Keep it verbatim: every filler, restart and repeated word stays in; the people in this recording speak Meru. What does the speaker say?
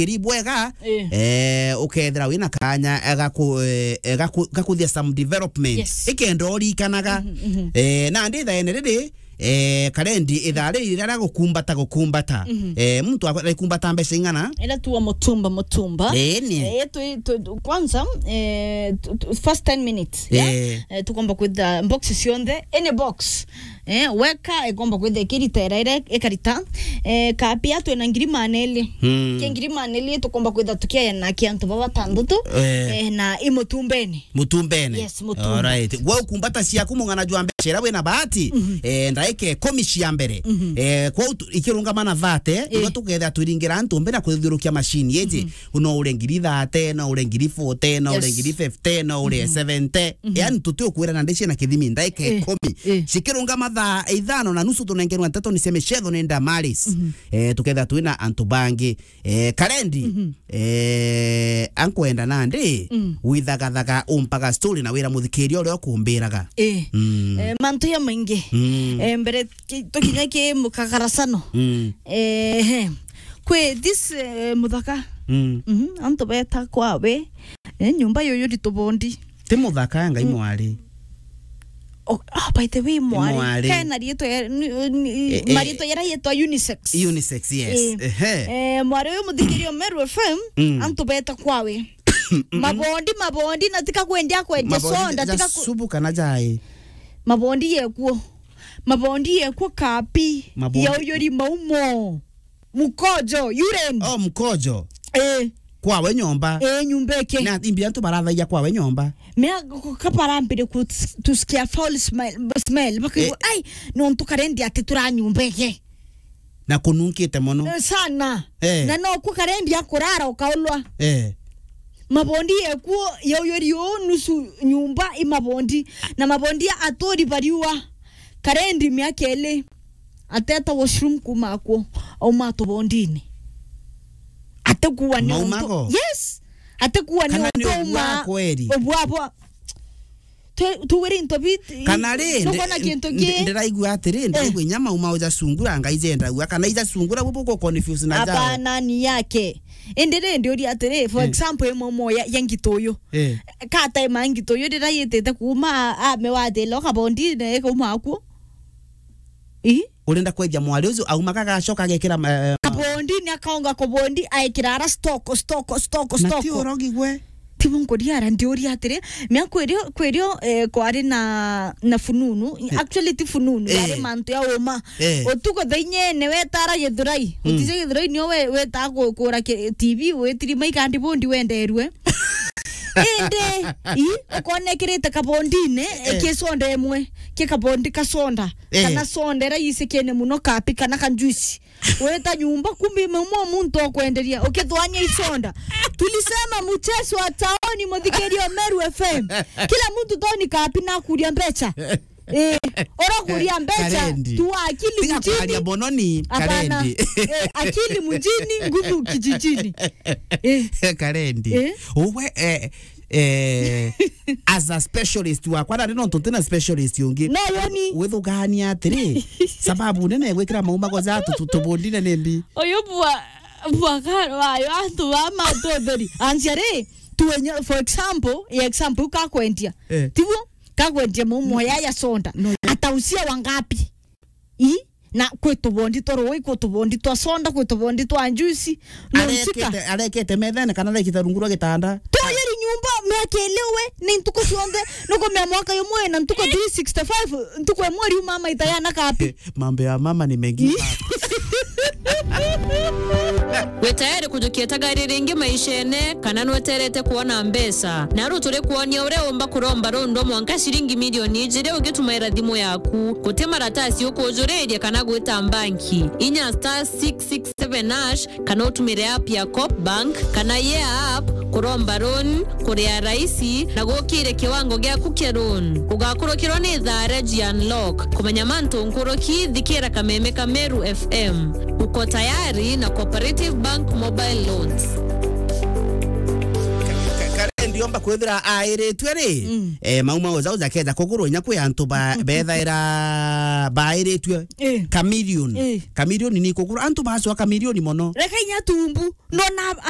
iri bwega, eh, ukethira wina kanya, eh, gaku-, eh, eh, gaku-, gakuthia some development. Yes. Ikenda urikanaga. Mhm, mhm. Eh, na ndi thaene riri, eh, karendi ithaa riri riria gukumbata, gukumbata. Mhm. Eh, muntu akwa-, arikumbata mbeca ing'ana? Ira tuwa mutumba, mutumba. Eh, ni. Eh, tu, tu, tu, kwanza, eh, tu, tu, first ten minutes, yeah? Eh. Eh, tukomba kwitha box cionthe, any box. Eh, weka, ikomba kwitha ikirita ira, ira ikarita. Eh, kapia twina ngiri maana eri. Hmm. Ki ngiri maana eri tukomba kwitha tukiayana ki antu baba batandatu. Eh. Eh, na i mutumbene. Mutumbene? Yes, mutumba. Alright. Gwe ukumbata ciaku mung'ana jwa mbeca ira wina bahati, mhm, eh, ndaika ikumi cia mbere. Mhm. Eh, kwou tu-, ikirungama na thate, eh, niguo tukethira twiringira antu mbe na kwithiurukia machine iji. Mhm. No ure ngiri thate, no ure ngiri forty, no ure, yes, ngiri fifty, no ure, mhm, seventy. Mhm. Yani, tutiukwira na ndici na kithimi, ndaika, eh, ikumi. Eh. Cikirungama thaa ithano na nusu, tunengerwa nteto ni cia micetho ni Damaris. Mhm. Eh, tukethira twina antu bangi. Eh, karendi, mhm, eh, ankwenda nandi, mm, withagathaga umpaga story na wira muthikiria uria ukumbiraga. Eh. Mm. Eh, mantu ya maingi. Mm. Eh, mbere ki-, tukinya ki mukagaracano. Mm. Eh, he. Kwi this, eh, muthaka. Mm. Mhm, antu beta kwawe. Eh, nyumba yuyu ri tubondi. Ti muthaka, Ngai, mm, mwari. Oh, ah, by the way, mwari. Mwari. Kena riitwa ya, ni, ni, eh, eh, mariitwa yara yetwa unisex. Unisex, yes. Eh. Ehe. Eh, mwari uyu muthikiria Meru F M, mm, antu beta kwawe. Mm-mm. Mabondi, mabondi, na tika kwendia kwendia soda, ja tika ku- subu kana jai. Mabondi yekuo. Mabondi yekuo kapi. Mabondi. Ya uyuri maumo. Mukojo, urine. Oh, mukojo. Eh. Kwawe nyomba. Eh, nyumba iki. Na imbi antu barathagia kwawe nyomba. Mea, kabarambire ku-, tusikia foul smell, smell. Bakigwa, eh, ai, nontu karendi ati tura nyumba iki. Na kununkite mono. Eh, sana. Eh. Na no ku karendi akurara ukaulwa. Eh. Mabondi yekuo, yauyuri uu nusu nyumba i mabondi. Na mabondi aturi bariua. Karendi miaka iri. Ateta washroom kuma akuo, auma tubondini. Atekuwa ni untu. Maumago? Yes. Atekuwa ni untu uma. Kana ni ubwa kweri? Ubwa bwa. Tu-, tuwiri into bit-, kana ri, nukona ndi-, kintu ndi-, ki? Ndiraigua atiri, eh, ndiraigua inya mauma uja sungura, ngai jendagua, kana ija sungura, bubu ko confuse na jao. Hapana, ni yake. Indi ri, ndiuria atiri, for, eh, example, imo mo ya, ya ngito uyu. Eh. Kata ima ngito uyu, ndira yitite kuma, a, ame watila, kabondi, ne, kuma akuo. Ii? Urenda kwendia mwari ucio, aumaga agacoka agekira ma-, ma- kabondi, ni akaonga kubondi, aikira ara stock, stock, stock, na stock. Ti urogi gwe. Ti bo nkuria ara, ndiuria atiri, mea kwirio, kwirio, eh, kwari na, na fununu. Eh. Actually, ti fununu, eh, yari mantu ya uma. Eh. Utuku thaa inyene wetara Githurai. Mm. Utije Githurai nio we-, weta ku-, kura ki-, T V, witirima ikandi bondi wenderue. Indi, i, ukona ikirite kabondine, eh, ki soda imwe, ki kabondi ka soda, eh, kana soda ira isikene muno kapi kana ka juice. Weta nyumba, kumbe imwe muntu okwenderia, ukithwania i soda. Tulisema mchezo wa taoni, muthikiria Meru F M. Kila muntu taoni kapi na kuria mbeca. Eh, urakuria mbeca, karendi. Tu akili mjini. Tiga kwaria mono ni, hapana, karendi. Eh, akili mjini, nguvu kijijini. Eh. Karendi. Eh? Uwe, eh, eh, as a specialist wakwa, na no ntutina specialist ungi. No, yoni. Withugania atiri, sababu nene gwikira maumago ja tu-, tu-, tubondine ni mbi. Uyu bwa, bwa ka-, wayo antu ba matutheri. Anjia ri, tuenye, for example, ya example, kakwendia. Eh. Tiguo? Kagwendia maumo ya, ya soda. No. Atausia wangapi? I? Na kwi tubondi twa rui, kwi tubondi twa soda, kwi tubondi twa juice. No usika. Arekete, arekete methene kana arekete rungu rwa gitanda. Tuyiri nyumba, miaka iliwe, ni ntuku cionthe, nukumia mwaka yumwe na ntuku three sixty-five, ntuku imwe riuma maita yana kapi. Mambo ya mama ni mengi. Wi tayari kujukia tagari ringi maishene, kana nweterete kuona mbeca? Naru turi kuonia uria umba kuromba rundu mwanka ciringi milioni ijiri ugitumaira thimu yaku. Guti maratasi ukujuriria kana gwita mbanki. Inya star six six seven hash kana utumire app ya Coop Bank kana Yeah App kuromba loan, kuria raisi na gukire kiwango giaku kia loan. Ugakurukirwa ni thaa Regi Unlock. Kumenya mantu nkuruki, thikira kameme ka Meru F M. Uko tayari na Cooperative Bank Mobile Loans. Ka-, ka-, karendi Yomba kwithira airitue ri, mm, eh, mau mau jau jakeja kugurwa inya kwi antu ba-, bethaira bairitue. Eh. Chameleon. Eh. Chameleon ni kugurwa. Antu bacwa chameleon mono. Reka inya tumbu. Nona